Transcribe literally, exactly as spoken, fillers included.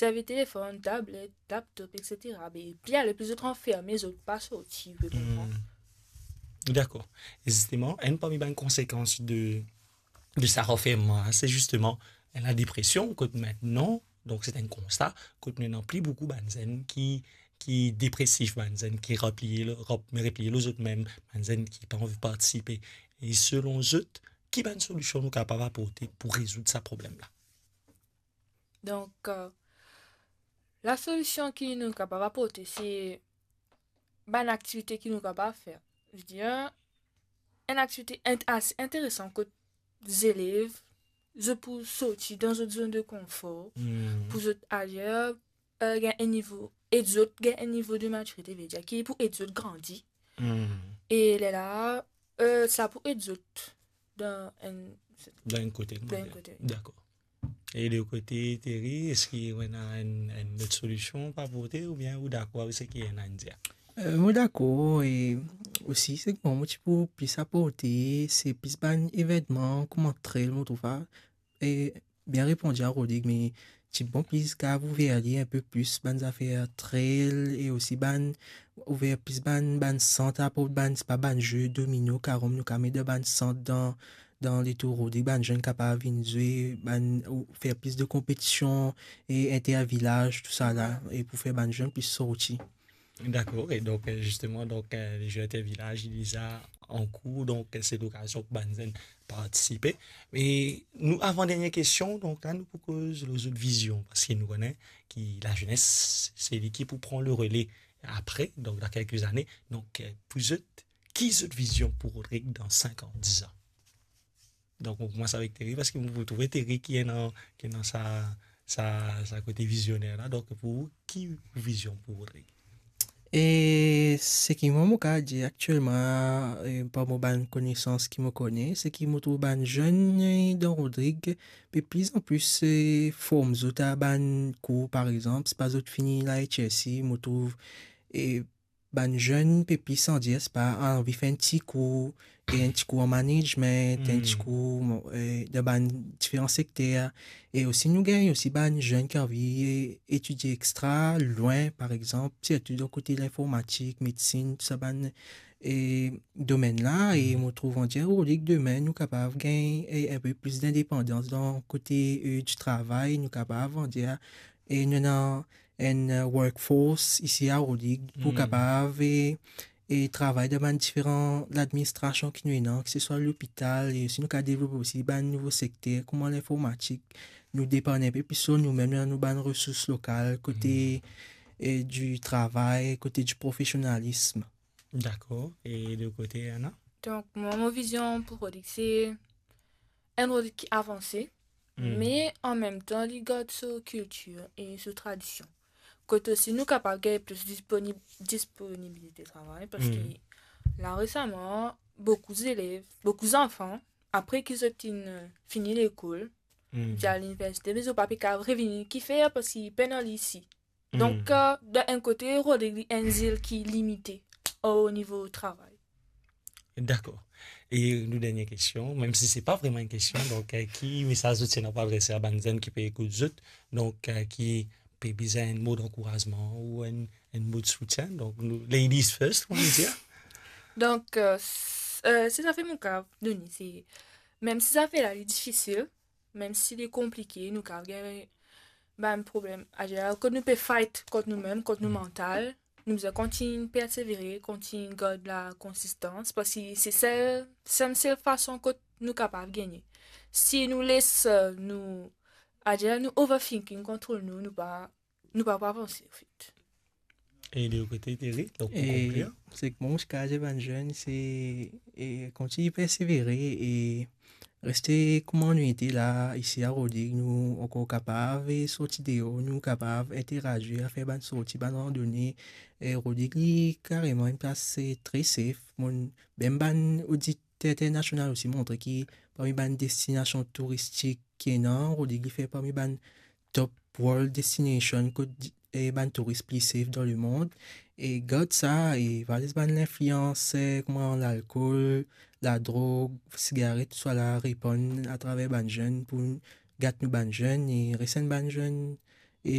servi telefonn, tablet, laptop, et cetera. Be, pli ale, pli zot ranferme, zot pa sorti, ou pe konpran? Hmm. Dakor. E zisteman, enn parmi bann konsekans de, de sa ranfermman la, se zisteman la depresion, kot aster, donk, se enn konsta, kot nou ena pli boukou bann zenn ki, ki depresif, bann zenn ki repliye lor, rep-, repliye lor zot mem, bann zenn ki pa anvi partisipe. E selon zot, ki bann solision nou kapav aporte pou rezoud sa problem la? Donk, euh, lasolision ki nou kapav aporte, se bann aktivite ki nou kapav fer. Je veux dire, enn aktivite int-, ase interesan kot zelev, zot pou sorti dan zot zone de confort, hmm, pou zot ayer, euh, gagn enn nivo, ed zot gagn enn nivo de matirite, vedir ki pou ed zot grandi. Hmm. E lerla, euh, sa pou ed zot dan enn, dan enn kote, dan enn kote, wi. Dakor. E de kote Thierry, eski ou ena enn, enn lot solision pou aporte, oubien ou dakor avek seki ena dir? Euh, mo dakor, e osi, seki mwa mo ti pou plis aporte, se plis bann evennman kouma trail, mo trouv sa, e bien reponn a Rodrigue, me ti bon plis kapav ouver li enn pe plis bann zafer trail, e osi bann, ouver plis bann, bann sant, aport bann, sepa bann ze domino, karom, nou kapav met dan bann sant dan, dan letour Rodrigue, bann zenn kapav vinn zwe, bann, ou fer plis de konpetision, e intervilaz, tousala, e pou fer bann zenn plis sorti. Dakor, e donk, euh, zisteman, donk, euh, le ze intervilaz, li deza an kour, donk, euh, se lokazion pou bann zenn partisipe. E nou, avan dernie kestion, donk la, nou pou koz lor zot vizion, parski nou kone ki lazenes, se li ki pou pran le rele apre, donk, dan kelke zane. Donk, euh, pou zot, ki zot vizion pou Rodrigue dan sink an, diz an? Donk, nou koumans avek Thierry, parski nou pou trouve Thierry ki ena, ki ena sa, sa, sa kote vizioner la. Donk, pou ou, ki vizion pou Rodrigue? E seki mwa mo kapav dir aktielman, e, par mo bann konesans ki mo kone, seki mo trouv bann zenn, e, dan Rodrigue, pe plis an plis, e, form zot a bann kour, par exanp, sepa zot fini la H S C, mo trouv, e, bann zenn pe plis andir, sepa anvi fer enn ti kour, e enn ti kour an management, enn ti kour, e, dan bann diferan sekter. E osi nou gagn osi bann zenn ki anvi, e, etidie extra, lwin, par exanp, sirtou dan kote linformatik, medsinn, tou sa bann, e, domenn la. E mo trouv andir Rodrigue demin nou kapav gagn, e, enn pe plis lindepandans dan kote, e, di travay, nou kapav andir, e, nou ena enn, e, workforce isi a Rodrigue pou kapav, e, e travay dan bann diferan ladministrasion ki nou ena, ki se swa lopital, e si nou kapav devlope osi bann nouvo sekter, kouma linformatik, nou depann enn pe plis lor noumem, nou bann resours lokal, kote, e, di travay, kote di profesionalism. Dakor. E de kote, Anna? Donk, mwa, mo vizion pou Rodrigue, se enn Rodrigue ki avanse, me an mem tan, li gard so kiltir e so tradision. Kot osi nou kapav gagn plis disponib-, disponibilite travay, parski la, resaman, boukou zelev, boukou zanfan, apre ki zot inn, e, fini lekol, zot al liniversite, me zot pa pe kapav revini, kifer? Parski pena li isi. Donk, e, dan enn kote, Rodrigue li enn zil ki limite o nivo travay. Dakor. E nou dernie kestion, mem si se pa vreman enn kestion, donk, e, ki mesaz zot ti ena pou adrese a bann zenn ki pe ekout zot, donk, e, ki pe bizin enn mo dankourazman ou enn, enn mo de soutien? Donk, nou, ladies first, kouma nou dir. Donk, e, s-, e, se zafer mo kapav done, se, mem si zafer la li difisil, mem si li konplike, nou kapav gagn bann problem. Aster, kot nou pe fight kont noumem, kont nou mantal, nou bizin kontign persevere, kontign gard lakonsistans, parski se sel, sel, sel fason kot nou kapav gagne. Si nou les, e, nou, aster, nou overthinking kontrol nou, nou pa, nou pa pou avanse, anfet. E de kote, Thierry, donk, pou konklir, seki mwa mo ti kapav dir bann zenn, se, e, kontign persevere e reste kouma nou ete la, isi a Rodrigue, nou ankor kapav, e, sorti deor, nou kapav interagir, fer bann sorti, bann randone. E Rodrigue li kareman enn plas, e, tre safe. Mo, mem bann odit internasional osi montre ki parmi bann destinasion touristik ki ena, Rodrigue li fer parmi bann top world destination kot, e, bann touris pli safe dan lemond. E gard sa, e pa les bann linflians, e, kouma lalkol, ladrog, sigaret, tousala repann atraver bann zenn pou gat nou bann zenn e res enn bann zenn. E